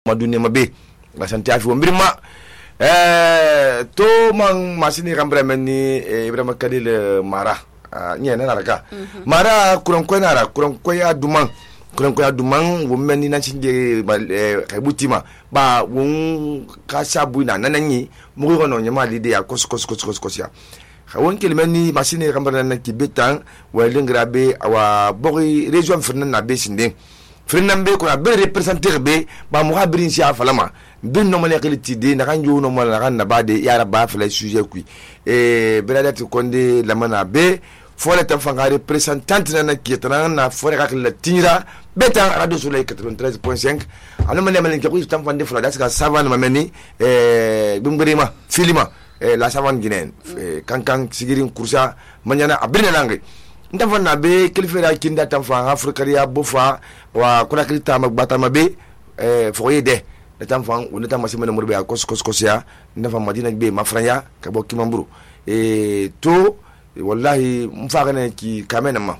madunia mabe asante afi wombirima to man masini kambra menni Ibrahima Kadil mara nyene naraka mara kuranko nara kuranko ya duman women na chinje kabutima ba won ka sabu na nananyi mugo no nyama lide ya kos ya khawon kelmeni masini kambra na kibetan walingra be awa bogi region firnan na be sinde firnan be ko be representer be ba muhabirin sia falama bin no male qiliti na kan jo no mala kan na bade ya raba fala sujet kui beladat konde lamana be fole tan fanga representante na kietana na fore ka la tinira beta radio soleil 93.5 alo male male ko tan fande fala daska savane mameni bumbrima filima la savane guinéenne kankan sigirin kursa manyana abirna langue ndafa na be kilfera kinda tan fa afrika bofa wa kula kilita magbata mabe foyede tan fa wona tan masima murbe ya kos ya ndafa madina be mafranya ka bo kimamburu to wallahi mfagana ki kamena ma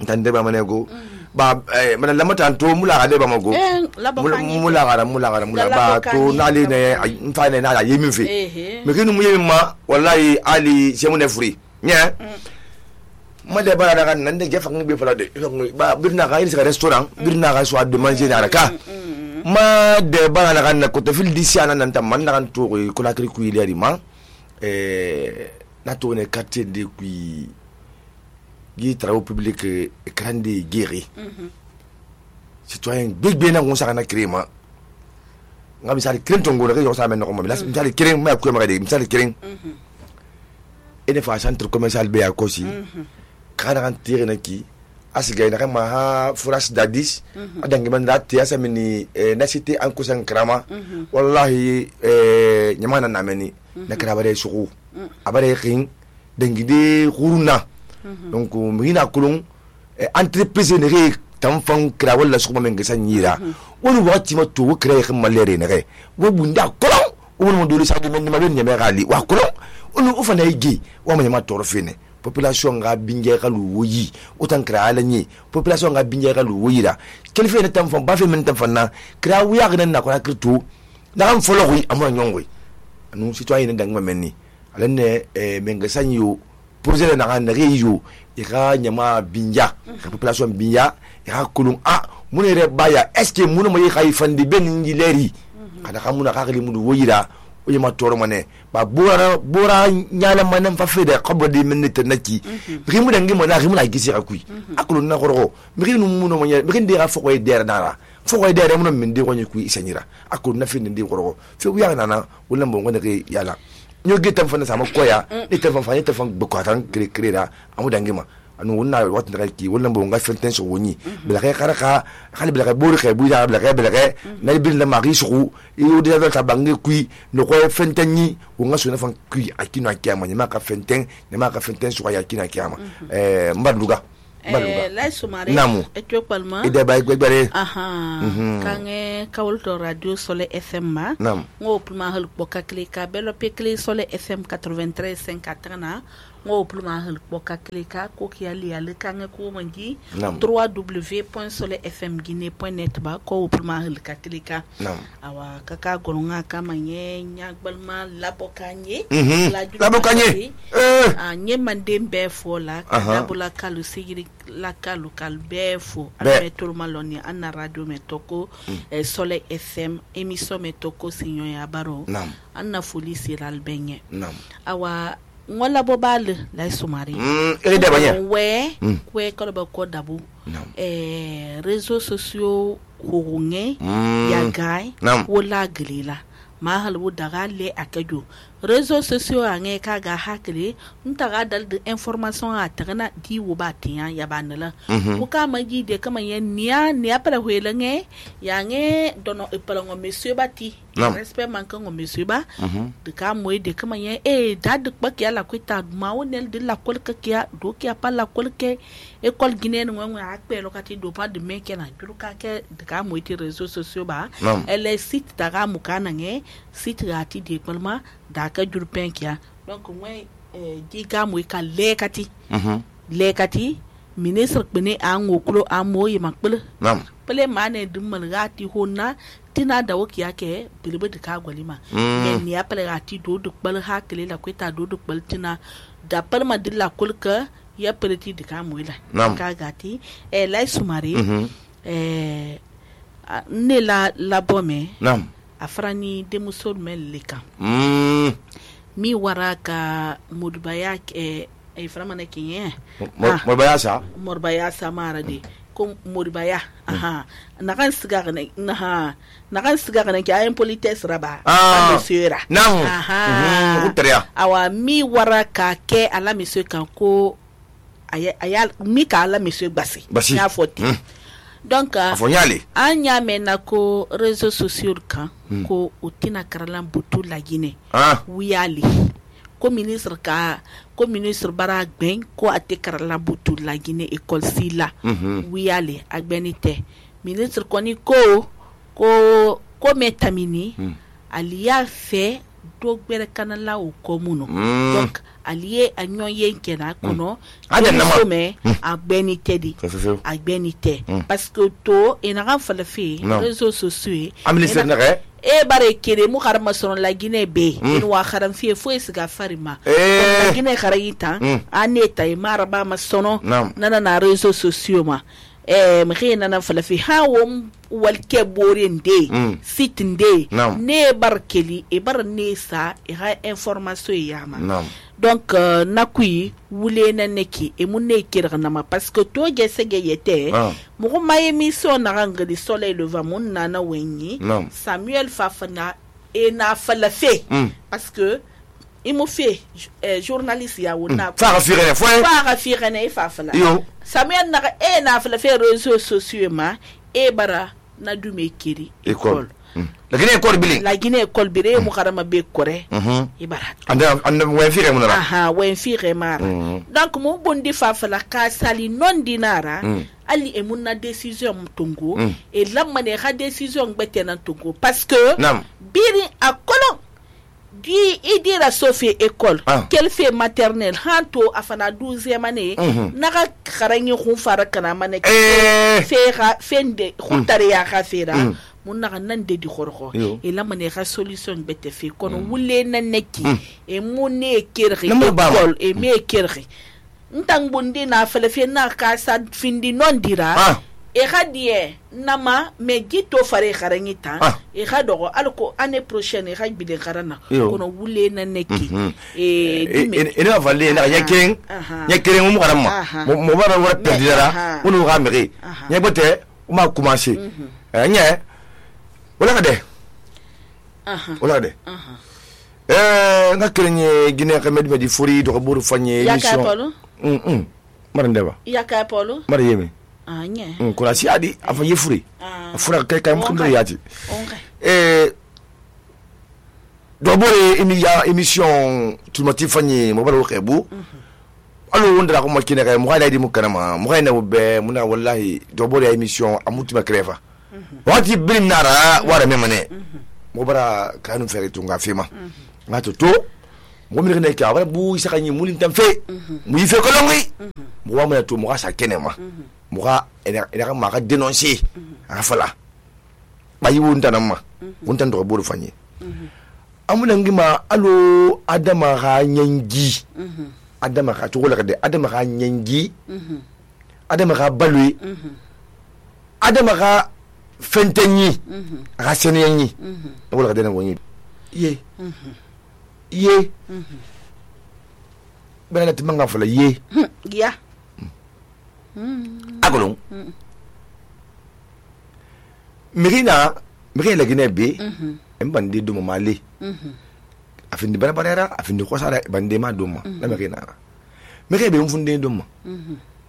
tande ba manego ba mana lamata to mula ga de ba mago mula gara ba to nali ne mfane na yemi fe me kinu mu yemi ma wallahi ali semu ne free nya ma de bara daga nan de gefa ngi be fala de ba birna ga ilisa restaurant birna ga so de manger na ka ma de bara daga na ko to fil disiana nan tam man daga to ko la kri ku ile ma na to ne quartier de qui travaux publics grande guéri citoyen big bien on sa na créer ma ngabi sali créer tongo re yo sa men ko ma misali créer ma ko ma de misali créer ene fa centre commercial be akosi kana kan tire na ki asiga na kama ha furas dadis adangi man dat ya samini na cité en kusan krama wallahi nyamana na meni na krabare suku abare king dengide khuruna donc mina kulung entreprise ne re tamfan kra wala sukuma men gasan yira woni wati ma to kra kham malere ne re wo bunda kolon woni mo dole sa de men ma ben nyame gali wa kolon woni o fana yigi wa ma nyama toro fene population nga binge kalu woyi otan kra alanyi population nga binge kalu woyi da kelfe ne tamfan ba fe men tamfan na kra wiya gnan na ko na krito da am folo wi amon nyongwe anu citoyen ne dangma menni alenne men gasan yo projet na kan reyo ira nyama binja population binja ira kulung munere baya est-ce que munu mo yi fandi ben ngileri kada kamuna ka kali mudu woyira o yema toro mane ba bora nyala manan fa fede qabla di minute naki rimu dangi mo na rimu na gisi akui akulu na koroko miri nu muno mo nya miri ndira foko e der nara foko e der mo min de ko nyi ku isanyira akulu na fin ndi koroko fe wiya nana wala mo ngone ke yala nyo getam fana sama koya ni telefon fanya telefon bukwatan kreda amu dangima anu wonna wat ndaka ki wala mbo nga fenten so woni bela kay karaka khali bela kay bori kay buja bela kay na bil la mari su yo de ta bangi kui no ko fenten ni wonga so na fan kui akino akiyama ni maka fenten so ya akino akiyama mbaduga la sumare et palma ide bay gbere kange kawulto radio Soleil FM ma ngo pluma hal boka klika belo pe kli Soleil FM 93.5 na ngo pluma hal boka klika ko kiali ale kange ko mangi www.soleilfmguinee.net ba ko pluma hal klika awa kaka gonga kama nya gbalma la bokanye la bokanye nye mandembe fola kadabula kalu sigiri la kalu kalbefo ametolo maloni ana radio metoko Soleil FM émission metoko sinyo ya baro ana foli siral benye awa ngola bobal la sumari ede banya we ko ba ko dabu réseaux sociaux hounge ya gai wala glila mahal wo daga le akajo réseaux sociaux ange kaga hakle ntaga dal de information a tagana di wo batiya ya banala ko kama ji de kama yen niya para huelenge yange dono epalongo monsieur bati respect manka ngo monsieur ba de kama de kama yen dad bak ya la kwita ma wonel de la kolka kia do kia pa la kolke école guinéenne ngo akpe lokati do pa de meke na juruka ke de kama ti réseaux sociaux ba elle site daga mukana nge site gati de palma daka jurpen kia donc moi diga mo ka lekati ministre bene an oklo amoy makbel pele mane dummal gati honna tina da woki yake bilibe de ka golima men ni apele gati do du bal ha kele la kweta do du bal tina da palma dilla kulka ya peleti de ka muila ka gati la sumari ne la bome afrani de musol mel leka mi waraka mudbaya framana kinye morbaya sa marade ko morbaya nakan siga ne nakan siga ne ki ayen polites raba monsieur awa mi waraka ke ala monsieur kan ko ayal mi ka ala monsieur basi ya foti donc anya mena ko réseaux sociaux kan ko utina karalan butu la Guinée wiyali ko ministre bara gben ko ate karalan butu la Guinée école sila wiyali agbenite ministre koni ko metamini aliya fait do gbere kanala o komuno donc aliye anyon yenkena kono ademe agbenite di agbenite parce que to enara falafi réseaux sociaux amnistie nare bare kere mu harma son la Guinée be in wa haram fi fo isiga farima la Guinée kharayita aneta maraba masono nana na réseaux sociaux ma mkhina na falafi hawum walke borinde sitinde ne barkeli e bar nesa e ha information yama donc nakui wule na neki e munne kirga ma parce que to gesege yete mo ma émission na rangli soleil levant mun na wenyi Samuel Fafana e na falafi parce que il m'a fait journaliste ya wona fa firene fa fala Samuel na falafi réseaux sociaux ma e bara na dume kiri école la Guinée école bire mu karama be kore ibara anda wen fire mu na wen fire mara donc mo bondi fa fala ka sali non dinara ali e mun na décision mtongo et lamane ha décision gbete na tongo parce que biri a kolon di idira Sophie école qu'elle fait maternelle hanto afana 12e année naka kharangi khufara kana mane fera fende khutare ya khafera mun naka nan de di khorkho et la mane ha solution bete fe kono wule na neki e munne kerri école e me kerri ntang bundi na fele fe na ka sa findi non dira e khadie nama me gito fare kharangita e khado alko année prochaine e khajbide kharana kono wule na neki e na valle na yakeng mu karama mo bara wara perdira unu ga meri nya bote uma commencer nya wala de nga krenye Guinée Kamed me di furi do buru fanye émission marandeba yaka polo mariyeme nye kuna si adi afa yefuri afura kai mkundu yati do bore émission tulmati fanye mo baro xebu alo wondra ko makine kay mo haydi mu kanama mo hayna be muna wallahi do bore émission amutima krefa wati birim nara wara memane mo bara kanu fere tunga fima ngato to mo mi ne ka wala bu sakani mulin tam fe mu yife ko longi mo wa mo to mo sa kenema mo ga ina ma ga dénoncer afala bayi wonta namma wonta ndo buru fanye amuna ngima alo adama ga nyangi adama ga to wala de adama ga nyangi adama ga balui adama ga fentenyi ga senyenyi wala de na woni ye bana timanga fala ye ya agolong Mirina la Guinée be mbandi dum mali afindi bana barera afindi ko sala bande ma dum na Mirina be mfunde dum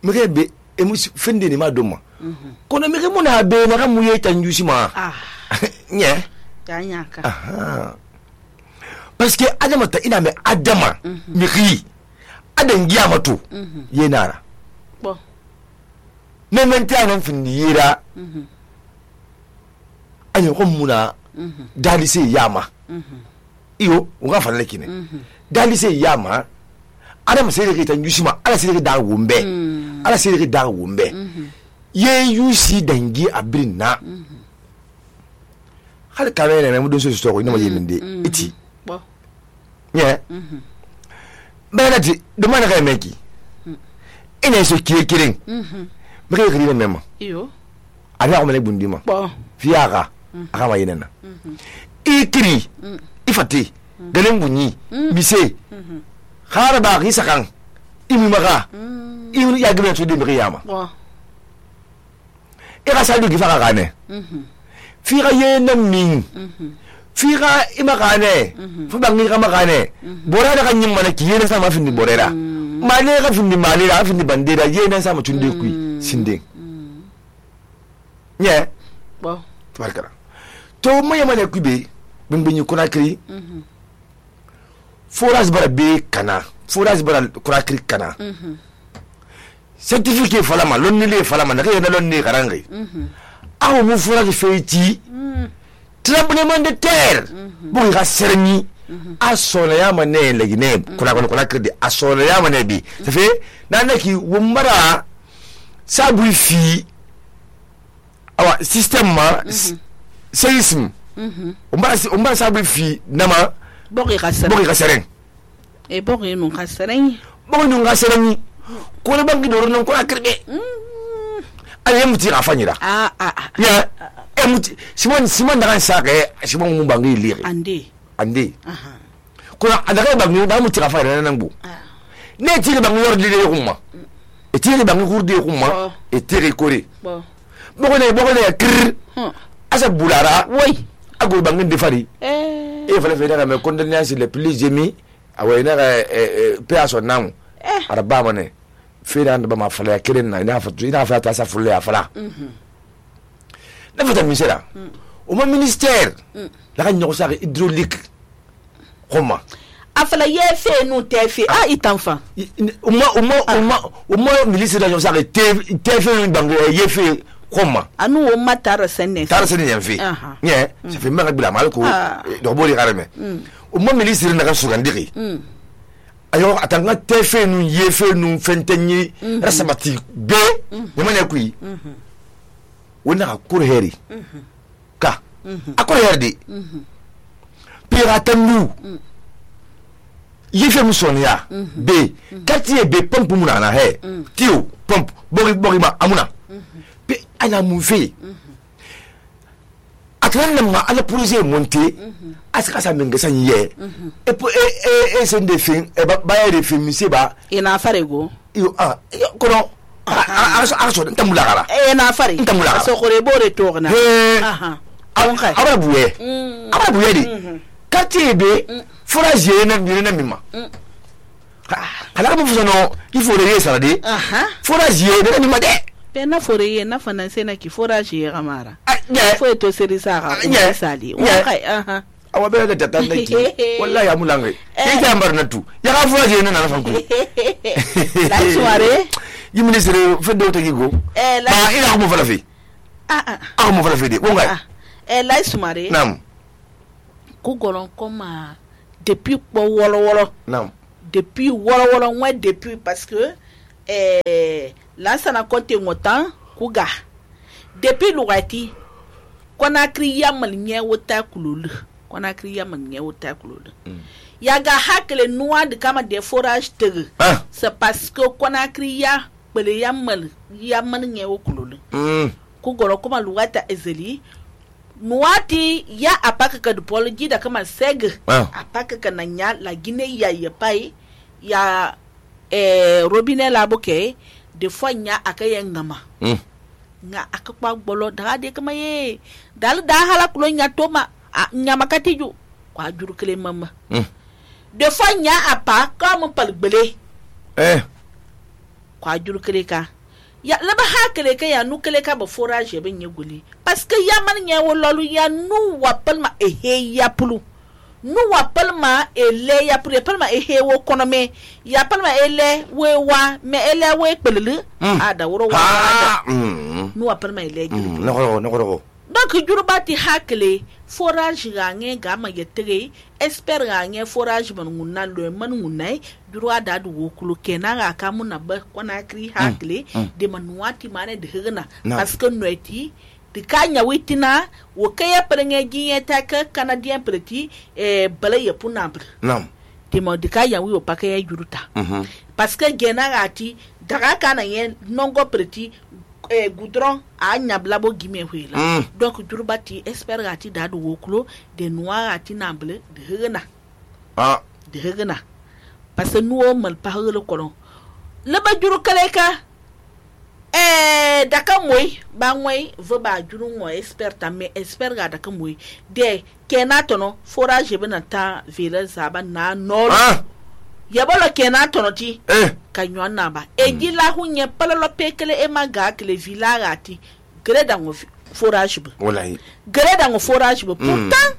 be emus finde ni ma dum kono mire muna be na mu yeta njusi ma nye tanyaka parce que adama ta ina me adama miri adan giya mato yenara bon ne menta nan findi yira anyo ko muna dali se yama iyo unga fa lekine dali se yama adama se reke tan yusima ala se reke da wumbe ala se reke da wumbe ye yusi dangi abrin na hal kamene na mudun so ko ina ma yeminde iti Bo. nye benati do mana kay meki ina so kirin bege kiri mema Iyo. ana ko mele bundima Bo. fiyaga aka ma yenena ikiri ifati galen bunyi bise khara ba gi sakan imi maga imi ya gbe to de mi yama Bo. ira sa du gi faka gane figa yena min figa ima gane fu bangi ga magane bora da kan yimma na kiyena sama findi borera male ga findi male ga findi bandera yena sama tunde ku sinde nye Bo. tabarkara to maya mane kube bingbinyi Conakry forage bara be kana forage bara Conakry kana certificat falama lonni le falama na kayena lonni karange aw mu forage feiti tremblement de terre bu ga serni asona ya mane legine Conakry de asona ya mane bi ça fait nanaki wumbara sabu fi awa système ma séisme umbara sabu fi nama Bogi ka sereng E bogi nun ka sereng. bogi nun ga sereng ko le bangi do non ko akirbe ale muti ga fanyira ya emuti simon daga sake simon mun bangi lire ande ko adaga bangi da muti ga fanyira nan bu ne ti bangi yordi de kuma e ti bangi hurde kuma e tere kore bogo ne kir asa bulara Oui. ago bangi de fari e fallait faire mes condoléances les plus émues awena pe aso nam araba mane fera ba ma fala keren na ina fa ta sa fulle afala na fata misera o ma ministère la kan nyoko sa hydraulique comment Afala ye fe nu te fe itanfa. o ma ministère la nyoko sa te fe bango ye fe comment Anu o matara senne. tara sene yan fe nye ça fait mara bila mal ko do boli garame o mo ministre na kan sugandiri ayo atanga tefe nu yefe nu fentenyi rasabati be yamane kui wona akur heri ka akur herdi piratanu yefe musonia be quartier be pompe munana he tiu pompe bori ma amuna pe ana mu fe atlan ma ala projet monté aska sa menga san ye e sen de fin e ba ya de fin mi ba Ina farego. yo kono aso tamula gara Na fare. Ntamula. So kore bore togna. abra buye di kati be forage na mima kala ko fusono il faut le sarade forage na mima de Pena fore ye na fana sena ki forage ye gamara. yeah. Fo to seri saka ko sali. Kai awa be da tatan naki wallahi amulange ke jambar na tu ya ga forage na na fanku La soirée. yi ministre fe do tagi go ba ina ko mo fala fi mo fala fi de wonga La soirée. nam Ku golon koma depuis po wolo nam depuis wolo moi depuis parce que là ça n'a compté montant kuga depuis lugati Conakry yamal nye wota kululu yaga hakle noa de kama des forages tere c'est parce que Conakry ya bele yamal nye kululu ku goro kuma lugata ezeli nuati ya apaka ka dupology da kama seg apaka ka nanya la Guinée ya pai ya robinet la boke de fois nya akaya ngama nga akakpa gbolo daga de kama ye dal da hala kulo nya toma nya makatiju kwa juru kele mama de fois nya apa comme pal gbele kwa juru kele ka ya laba ha kele ka ya nu kele ka ba forage be nyeguli parce que ya man nya wololu ya nu wapalma ehe ya pulu nu wapalma ele ya pulu palma ehe wo konome ya palma ele we wa me ele we pelele ada woro wa nu wapalma ele no donc jurubati hakle forage ga nge ga ma yetere expert ga nge forage man ngunna lo man ngunai jurwa da du wokulu kenan ga kamu na ba kona kri hakle de manuati mane de hegna parce que noiti de kanya witina wo kaya prenge giye ta ka canadien preti bala ya punabr nam de mo de kaya wi o pakaya juruta parce que gena gati daga kana yen nongo preti goudron a nyablabo gime huila donc jurubati expert gati da du wokulu de noir ati namble de hegna de hegna parce que nous mal parle kolon le ba juru kaleka daka moy ba moy vo ba juru mo expert mais expert ga daka moy de kenatono forage bena ta village zaba na nord yabolo kenatono ti kanyo na ba eji la hunye palalo pekele e maga kele village ati greda ngo forage ba wallahi greda ngo forage ba pourtant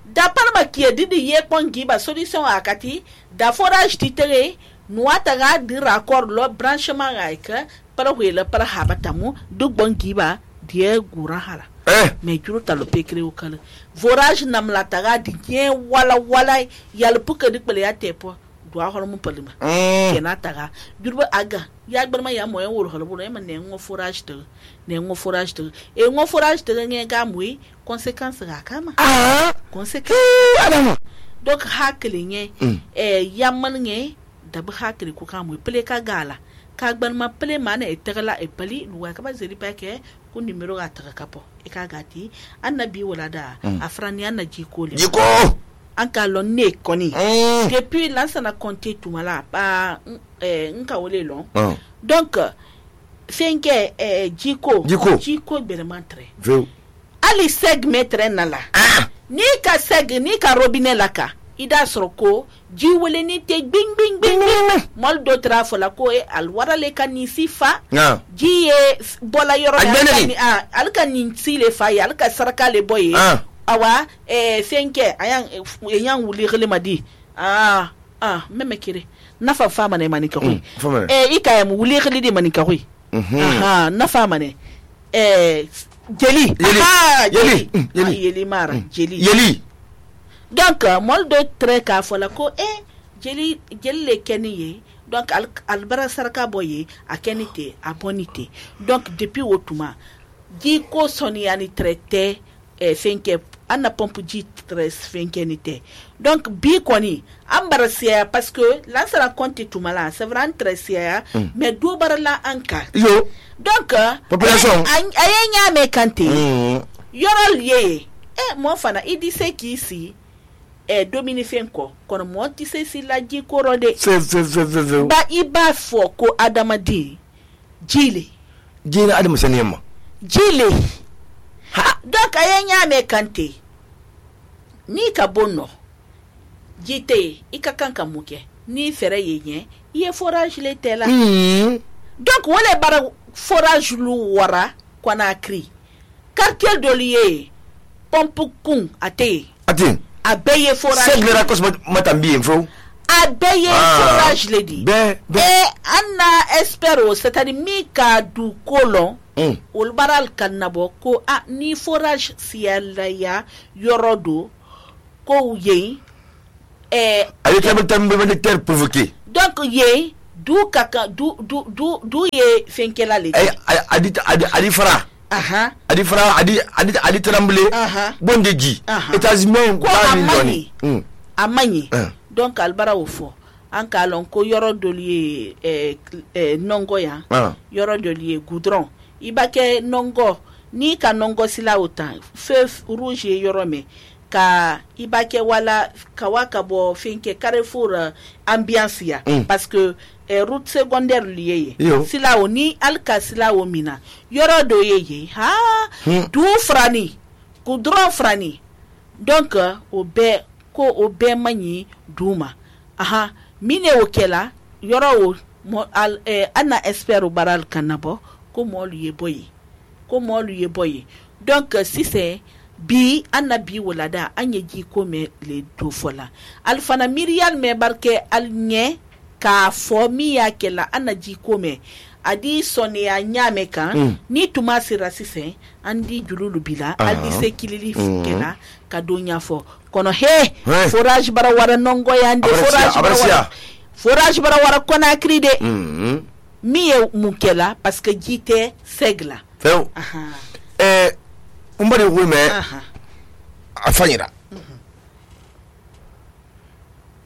da parma ki didi ye pongi ba solution akati da forage titere nuata ga di raccord lo branchement ga para huela para habatamu du bongi ba die gura hala mais juru talo pekre o kala forage nam la taga di ye wala yal puka di pele ya tepo do a holo mu palima kenataga jurba aga ya gbarma ya moyen woro holo bo e man ne ngo forage te e ngo forage te nge ga mui conséquence ga kama conséquence adama donc hakli nge yaman nge dab hakli ku ka mui pele ka gala ka gbarma pele mana e tegala e pali luwa ka ba zeli pa ke ku numero ga taga kapo e ka gati annabi wala da afrani annaji ko le jiko an ka lon ne koni depuis lansa na compter tout mala pa nka wole lon donc fenke jiko bermantre ali seg metre nala ni ka seg ni ka robinet laka ida soroko ji wole ni te bing mol do trafo la ko alwara le kan ni sifa ji bola yoro al kan ni sile fa al ka saraka le boye awa fenke ayan wuli gele madi meme kire nafa fama ne manika hui ika mu wuli gele di manika hui nafa mane jeli mara jeli donc mol do tre ka fola ko jeli le keniye donc albara saraka boye a kenite a bonite donc depuis otuma di ko soni ani traité fenke anna pompe ji stress fenke nite donc bi koni ambarasiya parce que là ça raconte tout mal c'est vraiment très sia mais do barala anka yo donc population ayenya me kante yorol ye mo fana idi se ki si domini fenko kono mo ti se si la ji korode ba iba fo ko adamadi jile adama sanema jile donc ayenya me kante ni ka bonno jite ikakanka muke ni fere yenye ye forage le tela donc wole bara forage lu wara kwana kri quartier de lié pompe kun ate abeye forage c'est le racos matambi info abeye forage le di anna espero c'est-à-dire mi ka du kolon ol baral kannabo ko ni forage siala ya yorodo ko ye avec la même terre provoquée donc ye du kaka du ye fenkela le adi fara adi tremble bondeji États-Unis ko amani donc albara ofo an kalon ko yorodo lié nongo ya yorodo lié goudron ibake nongo ni ka nongo sila autant feu rouge yorome ka ibake wala kawaka bo finke carrefour ambiance ya parce que route secondaire lié sila oni alka sila o mina yorodo yeye du frani goudron frani donc obe mani duma mine okela yoro ana espero baral kanabo ko mo luye boye donc si c'est bi anna bi wolada anye ji ko me le do fola alfana mirial me barke alnye ka fomi ya kela anna ji ko me adi sonia nyame kan ni tuma sira sisen andi jululu bila adi se kilili kena ka donya fo kono he forage bara wara nongo yande forage bara wara Conakry de mi ye mukela parce que jite segla few umbari wume afanyira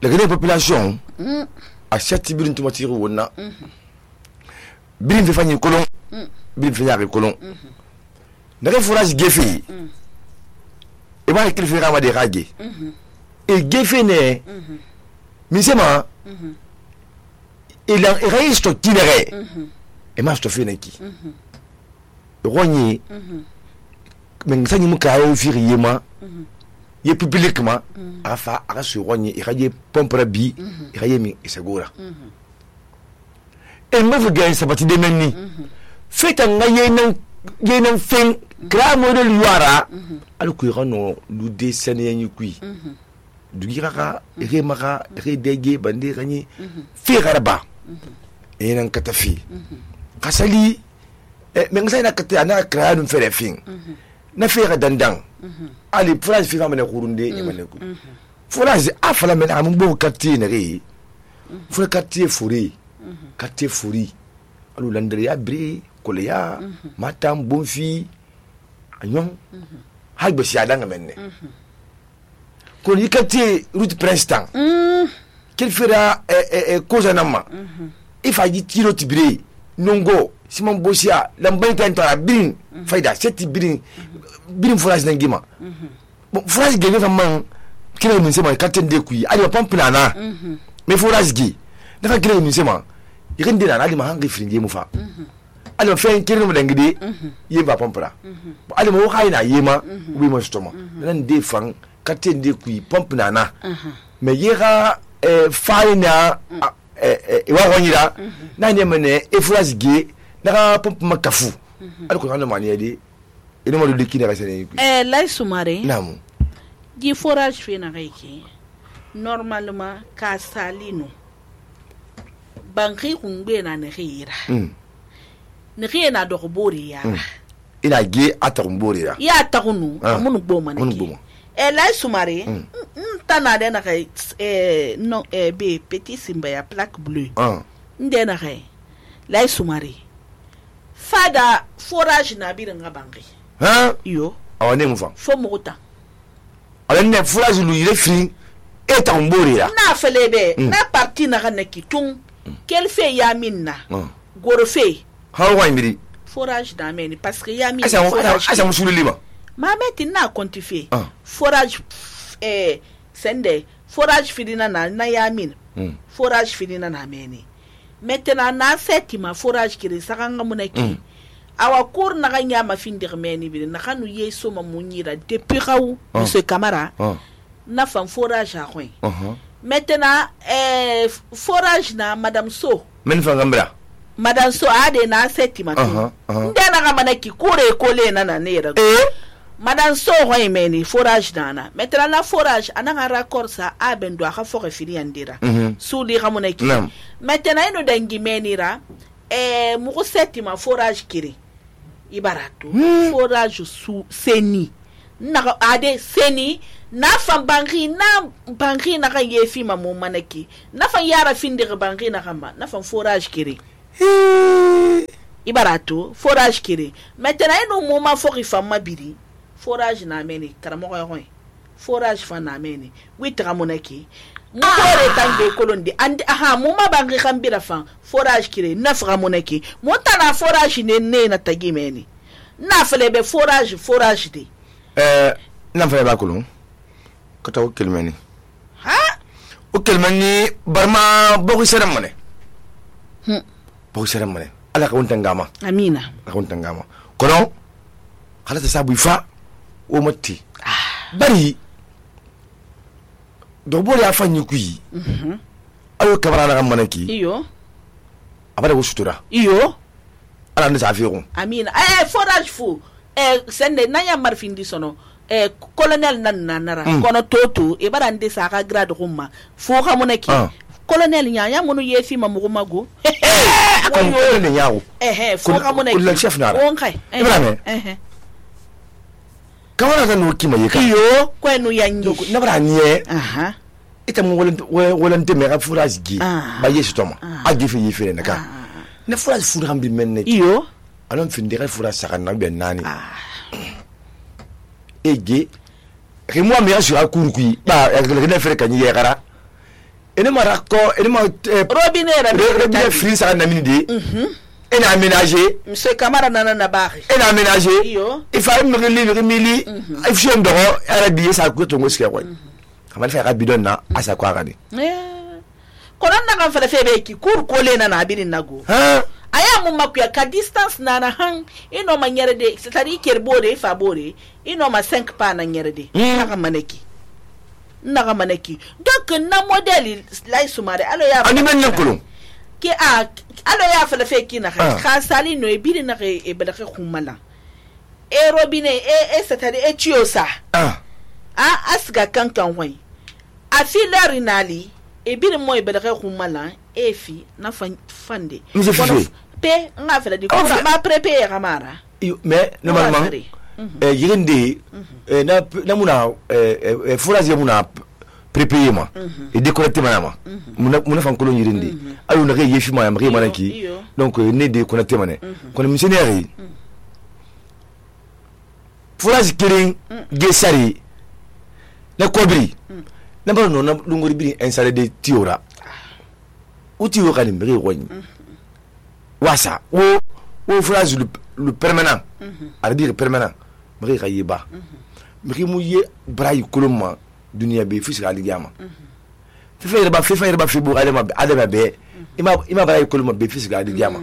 la grande population a chati birin tumati wonna birin fi fanyi kolon birin fi yaaki kolon daga forage gefe e ba ikil fi rama de rage e gefe ne misema il a réisto kinere e ma sto fene ki ronyi men sanyi muka yo fi yema ye publiquement afa ara su ronyi e raje pompra bi e raje mi segura e me fuga sabati de menni feta ngaye nan fen gra model yuara al ku rano lu de sene yin kui du giraka e maka e dege bande ranyi fi garba e nan katafi kasali men sai na kata na kra dum fere fin na fere dandang ali phrase fi famane kurunde e mane ku phrase afala men am bo katti ne re fura katti furi katti furi alu landre ya bre koleya matam bonfi anyon hagbe si adanga menne ko ni katti route princeton quel fera cause nama ifa ji tiro tibre nongo simon bosia lamban kan tara bin faida seti bin phrase nangima bon phrase gene famman kire min sema katen de kuyi ali pampina na me phrase gi dafa kire min sema irinde na ali ma hangi fringe mu fa ali fa kire mu dangide yeba pampra ali mo hayna yema wi mo stoma nan de fan katen de kuyi pampina na me yera faina wa wonyira na ne mene e phrase gi na pomp makafu alko hanu mani yadi ina mo de kina rasene lay sumare namu di forage fe na reiki normalement ka salino banki kungbe na nehira nehira do bori ya ina ge atarumbori ya takunu amunu boma na ki lay sumare tana de na kai non be petit simba ya plaque bleue nde na kai lay sumare fada forage na birin ngabangi yo awane mufa fo mota ale ne forage lu ile fi eta mbori la na felebe na parti na kanaki tung quel fait yamina goro fait ha wa mbiri forage na meni parce que yamina asa musulu liba ma meti na quantifier forage sende forage fidina na yamin forage fidina na meni maintenant na setima forage kiri sakanga munaki awa cour na ganya ma findir meni bi na kanu yeso ma munyira depuis raw monsieur Camara na fan forage a coin maintenant forage na madame So men fa ngambra madame So ade na setima ndena ga manaki kure kole na nera madame So hoy meni forage dana maintenant la forage ananga raccord sa abendo aka fo refiri andira suli ramonaki maintenant ino dangi menira muko setima forage kiri ibarato forage su seni na ade seni na fan bangi na ga yefi ma mo manaki na fan yara findir bangi na kama na fan forage kiri ibarato forage kiri maintenant ino mo ma fo rifama biri forage na meni karamo yoy forage fa na meni witra monaki mo re tangbe kolondi andi mo ma bangi khambira fa forage kire nafra monaki mo tana forage ne na tagi meni na felebe forage de na fele ba kolon kata o kelmeni o kelmeni barma bogu seram mane bogu seram mane ala ka untangama amina ka untangama kono khala ta sabu fa o matti bari do bori afanyi kuyi ayo kabara na manaki iyo abada wo sutura iyo ala ne safiru amina forage fu sende nanya marfindi sono colonel nanara kono toto e barande saka grade rumma fu xamunaki colonel nya ya munu yefi mamugo mago ko ne yawo fo ka mun le chef na on kai kamara kan no kima yeka iyo ko no yanyi na bara nie ita mun wolen te me ga furage gi ba yesu toma agi fi yefere naka na furage furu hambi menne iyo alon fin de furage saka na be nani ege remoi me asura kurukui ba ne fere kan yegara ene marako ene ma robinet free saka na minide ene aménager monsieur Camara na bari ene aménager il faut me mili il faut ndoro arabi sa ko to ngoske ko kamal fa rabidon na asa ko agani konan na kan fele febe ki kur ko le na abidin nago aya mun makuya ka distance na han ino manyere de c'est-à-dire kerbore fa bore ino ma 5 pa na nyere de naga maneki donc na modèle la sumare alo ya ani men nankolo ke alo ya fele fe ki na ka sali no e biri na e bela ke khumala e robinet e c'est-à-dire e tiosa asga kankan hoy a filari nali e biri mo e bela ke khumala e fi na fande pe nga fele di ko ma prepare kamara mais normalement yirinde na muna furazi muna prepare ma et déconnecter ma muna fan kolon yirinde alu na yefi ma yamre manaki donc ne déconnecter mané kon missionnaire furazi kirin gesari na kobri na ba no na lungori bi installé de tiora uti yo kan mre woni wasa wo phrase le permanent à dire permanent mri kayiba mri mu ye bray koloma dunia be fisika aligama fifa ba fibu adama be ima bray koloma be fisika aligama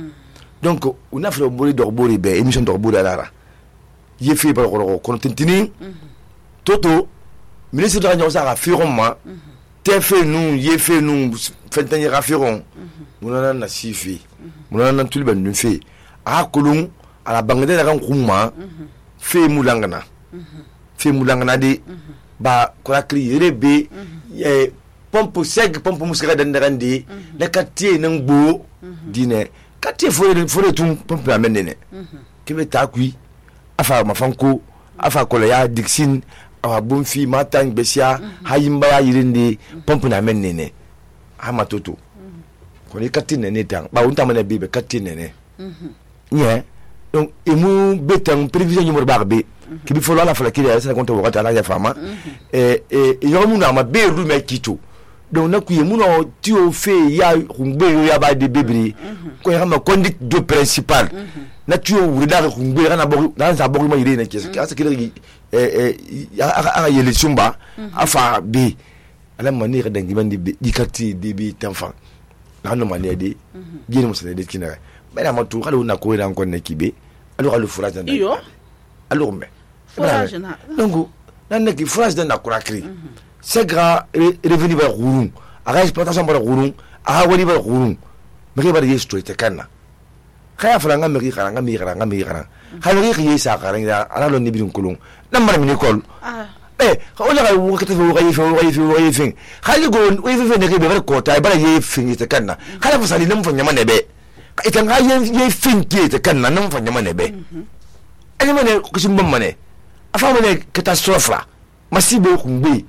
donc on a fait le boli d'orbori be émission d'orbori alara ye fi ba ko tintini toto ministre de la Nyosa a fait roma te fait nous ye fait nous fentani rafiron munana na sifi munana tulba nu fi a kolon a la bangade la kan kuma fe mulangana de ba korakli rebe pompe seg pompe muskara dandarandi la katie nan gbo dine katie fore tun pompe amenene kebe takui afa mafanko afa kolaya dixin awa bonfi matang besia hayimba ya yirinde pompe na amenene ama toto ko ni katine ne tan ba unta mane bibe katine ne nye donc emu betan prévision numéro barbe qui bi folo la fala ki ya sa konta wakati ala ya fama yo mu na ma be ru me kito donc na ku yemu no ti o fe ya humbe yo ya ba de bebri ko ya ma conduite de principal na ti o wuri da humbe kana bo na sa bo ma yire na kesi asa kile a yele sumba afa be ala mani ka dangi bandi di kati de bi tanfa na no mani de gine mo sene de kinara bana ma tu kala na ko ran ko ne kibe alo furage na iyo alo me furage na donc nan ne ki furage na kurakri c'est grand revenu ba gurun aga exploitation ba gurun aga wali ba gurun me ba yesto te kana khaya franga me ri karanga khaya ri yesa karanga ala lo ni bin kulun nan mara min école wala ga wakati fo ga fin khali go we fe ne ke be ko ta ba ye fin te kana khaya fasali nan fo nyama ne be ita nga ye fin ke te kana nan fo nyama ne be ani mane ko sim mane afa mane catastrophe masibo kumbe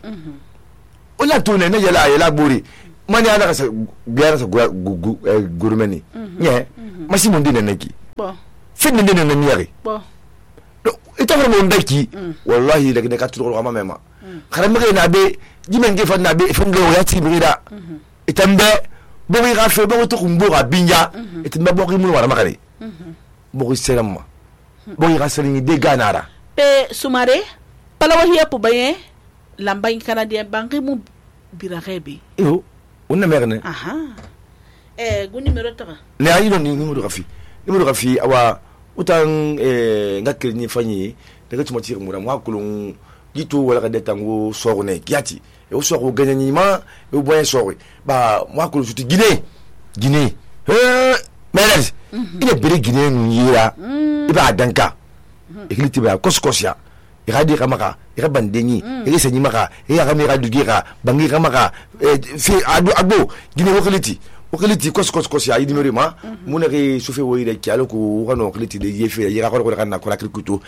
ola to ne yala bori mani ala ka biara sa gurmeni nye masibo ndine neki fin ndine ne nyari ita fa mo ndaki wallahi daga ne ka turo ko mama kharam ngi na be jimen ge fa na be fa ngo ya ti brida itambe bo ri ga fe bo to kumbo ga binya itambe bo ri mu wala makare bo ri selama bo ri ga selini de ganara pe sumare palawa hiya pu baye lamba in canadien bangi mu birarebe yo onna merne gu numéro ta ne ayi don numéro rafi awa utan ngakir ni fanyi daga tuma tire mura mwa kulun gitu wala kada tango sorne kiati e o soro ganyanyi ma e o boyen soro ba mwa kulun suti Guinée meles ina bere Guinée nyira iba danka e kiliti ba koskosia iradi kamaka irabandeni irisenyi maka irakamira dugira bangira maka fi ado gine wakiliti kos ya idimeri ma munaki sofe woyire kyalo ko kano wakiliti de yefe yira ko kana ko krikuto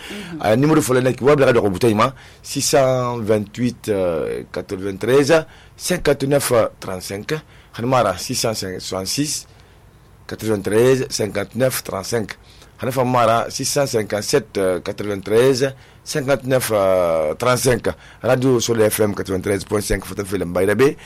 numéro fole nek wabla do butayma 628 93 59 35 hanmara 666 93 59 35 hanafa mara 657 93 59 35 radio sur le FM 93.5 foto film bayrabe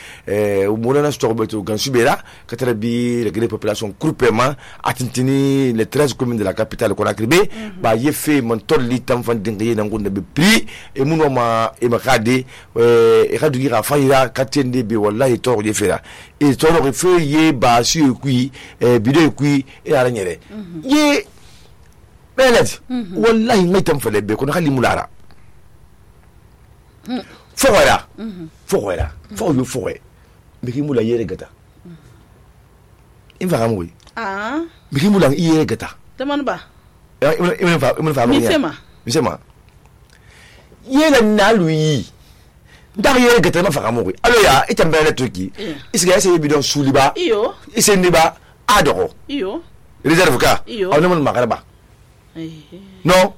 umulana storbeto gansubera katarabi la population groupement atintini les 13 communes de la capitale Conakry ba yefe montol litam fan dingue nangunde be prix e munoma e makade e radu gira fayira katende be wallahi to yefera e to no fe ye ba su kui bido kui e ala nyere ye belet wallahi ngitam fele be ko khali mulara foira biki mula yere gata infa kamwe biki mula yere gata teman ba misema yela naluyi ndar yere gata ma faka mwe alo ya itambele toki isiga ese bidon suliba iyo isendiba adoro iyo reserve ka awne mon magaraba no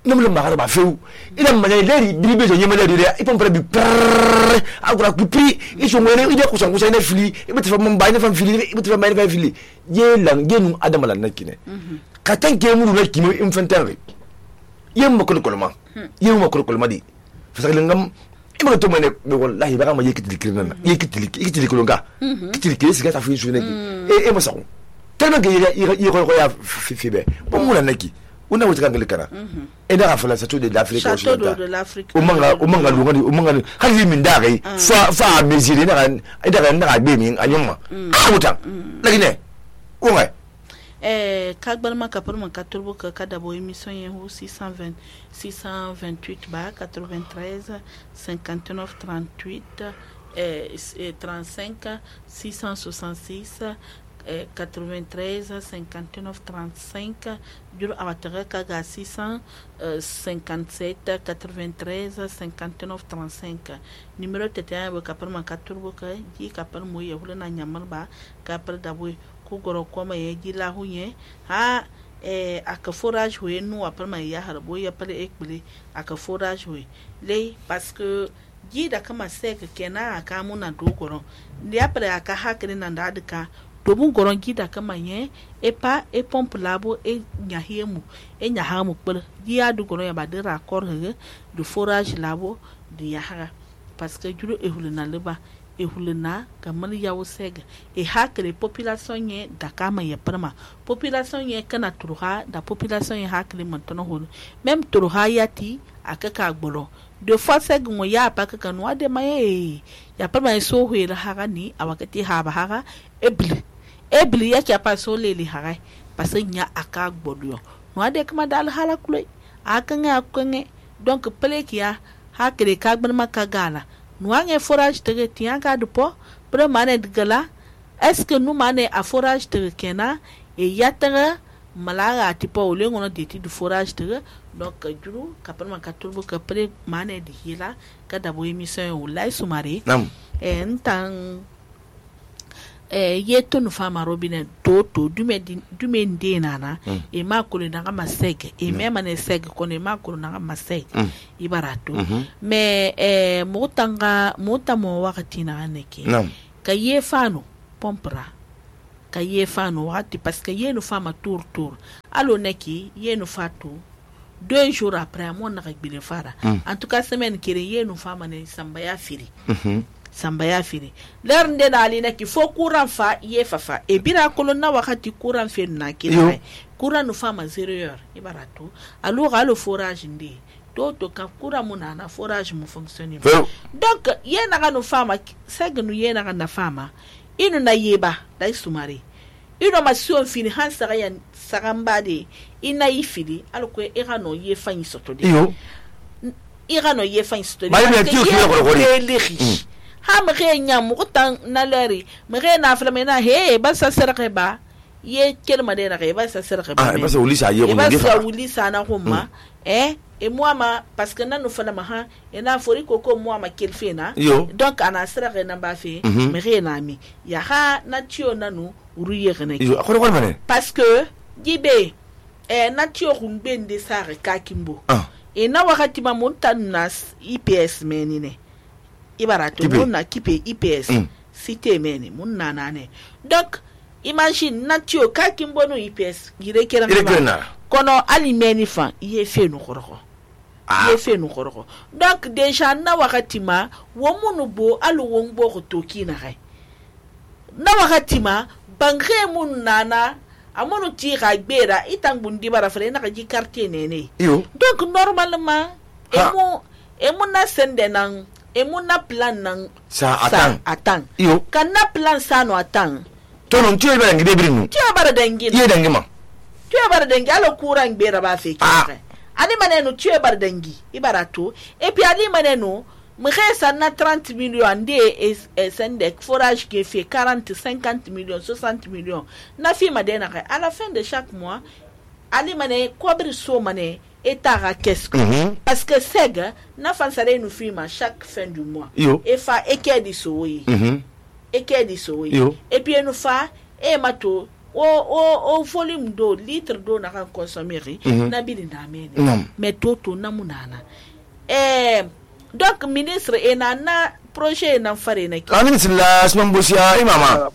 namle magaraba feu ina mane leri bibe je nyema leri ya ipon pra bi agura pipi iso ngene ide kusan kusan ne fili ibete fa mamba ne fa fili ibete fa mane fa fili ye lan genu adamala nakine katan ke mu na kimo infantare yemma ko kolma di fa ngam ima to mane be wallahi ba ma yekiti kirnana kolonga kitili siga ta fi sunaki e ma saw tellement que il ya fibe bon mona naki una wuta kangali kana e da afala sa de l'Afrique occidentale o manga lungani hali min dare fa mesire na be min anyuma wuta lakine ko ngai kagbalma kaparma katurbo ka kadabo émission yehu 628 ba 93 59 38 35 666 93 59 35 juro abatare kaga 657 93 59 35 numéro tete ba kapar man katurbo ka ji kapar mo ye hulana nyamal ba kapar dabo ku goro koma ye ji la hunye ha aka forage we no apar man ya harbo ya pale ekbili aka forage we le parce que ji da kama sek kenan aka muna dogoro ndi apre aka hakri nan da adka dobun goron gida kama ye epa e pompe labo e nyahiemu e nyahamu kpel dia du goron ya badira akor he du forage labo du yaha parce que juro e huluna leba e huluna kamal yawo sega e hakre population ye da kama ye prama population ye kana turuha da population ye hakre mantono hol même turuha yati akaka gboro de fois seg mo ya pa ka kanwa de maye ya prama so huela haga ni awakati haba haga ebli ya chapa so leli hagai pasenya aka gbodio no ade kama dal hala kuloi akanga akenge donc plekia hakre kagban makagala no ange forage tege tianga dupo pre mane digala est-ce que nous mane a forage tege kena e yatanga malaga tipo olengo no deti du forage tege donc juru kapal makaturbo ka pre mane di hila kada bo émission ulai sumari entang yeto no fama robine toto dume ndenana e makulu na kama sege e mema ne sege kone makulu na kama sege ibarato me mutamo wakati na aneke ka ye fano pompra ka ye fano wakati parce que ye no fama tour alo neki ye no fato 2 jours après mon na gbile fara en tout cas semaine kire ye no fama ne sambaya firi sambaya firi ler nde na ali neki fo courant fa ye fafa e bira kolonna wakati courant fe na kira courant no fama 0 heure ibarato alo forage ndi to ka courant muna na forage mu fonctionner donc ye na no fama segnu ye na fama inu na yeba dai sumari ino masio fini hansa ya sagambade ina ifili alo ko no ye fanyi soto de no ye fanyi soto de ha mre nyam utan na leri mre na afla mena he ba sa serre ba ye kelma de na ba sa serre ba ba sa ulisa ye ba sa ulisa na homa e muama parce que nanu fana maha ena fori koko muama kelfena donc ana sira na ba fe me rena mi ya ha na tio nanu uruye gene yo akoro ko mane parce que gibe na tio rumbe nde sare kakimbo e na wakati ma montanas IPS menine ibarato monna kipe IPS cité meni munna nane donc imagine na tio kakimbo no IPS gire kera kono ali meni fa ye fe no khoroko ye fe no khoroko donc déjà na wakati ma wo munu bo alu wongbo ko toki na re na wakati ma bangre mun nana amono ti ga gbera itangundi bara fere na ji quartier nene donc normalement emo na sende nan emo na plan nan sa atan kan na plan sa no atan to non ti e bara ngide birinu ti e bara dangi ye dangi ma ti e bara dangi alo kuran gbera ba fe kire ani maneno ti e bara dangi ibarato et puis ani maneno Mresa na 30 millions ande sendek forage qui fait 40, 50 millions, 60 millions. Na fi madena à la fin de chaque mois, ali mané cobre so mané etara qu'est-ce parce que sega na fansare nous firma chaque fin du mois. Et fa eke di soyi. Eke di soyi. Et puis nous fa e mato o volume d'eau litre d'eau na kan consommer na bili na mene. Mais toto na munana. Donc ministre na projet na fare na ki ministre la Asman Bosia imama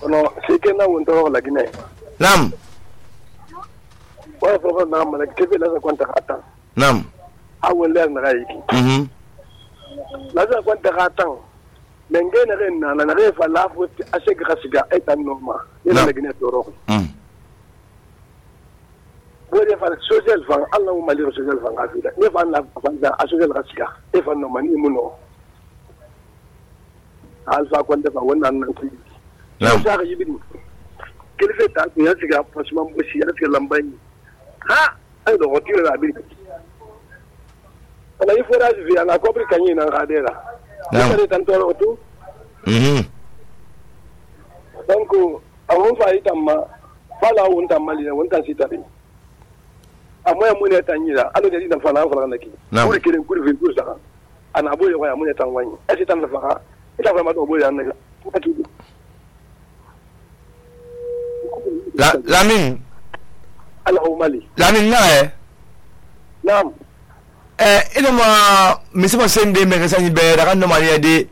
no sike na wonto la Guinée nam wa fa na mala kebe la kwanta hata nam awon le na rayi la za kwanta hata menge na ren na refa la fu asege khasiga etan normal ila la Guinée toro bode fa social fan Allah mo mali social fan afida ne fa na fa social khasiga e fa no mani muno alfa kwanda fa wannan nan ki na sa ga yibin kelfe ta ko ya siga fasman bushi ya siga lambani ha ai do hotire la bi ala ifora ji via na kopri kanyi na gadera na ne tanto otu donc awon fa itamma fala won tamali won tan sitabi amoya mun ya tanyira alo da dinan fala fala naki kuri kirin kuri fi kusa ana boye waya mun ya tanwani asi tan fa ita fa ma do boye annaka Lamin Al-Humali Lamin na Naam ina ma misima sende me gasani be da kan no mari de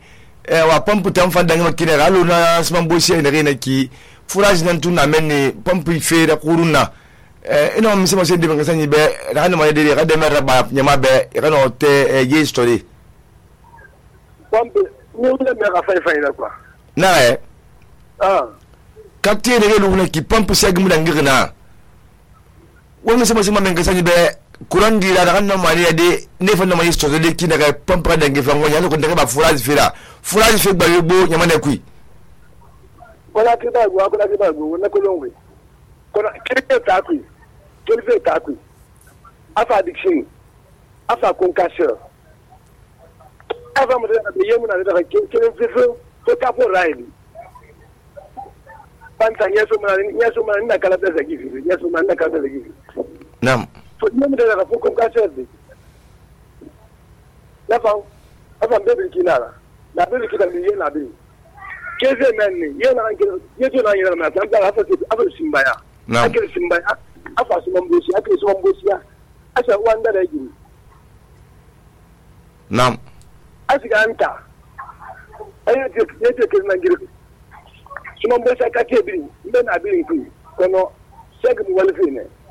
wa pampu tan fa danga makine galo na sman bosie ne rena ki fourage nan tuna menni pampu fe da kuruna ina mi sema sende benga sanyi be rano ma de ga de mer ba nyama be rano te ye story pompe ni le mer a fay la quoi na kapte de lu na ki pompe seg mu dangirna woni sema benga sanyi be kuran di la rano ma de ne fa no ma story de ki daga pompe dangi fa ngonya ko daga ba fourage fe ba yebo nyama ne kui wala ti ba go na ko longwe kona kete ta kui kelfe ta kui afa addiction afa concasseur afa mo de yemu na de kelen fefe to kapo raili panta nyeso mana na kala pesa gifi nyeso mana na kala pesa gifi nam to yemu de la fo concasseur de la fa afa bebe kinala la bebe kitala ni yena be keze menni yena angel yeto na yena na tamba afa simbaya akele simbaya afa simambosi akele simambosi asa wanda da gini nam asiga anta ayete ke na ngire simambosi akate bi mbe na bi nku kono seg mu walfine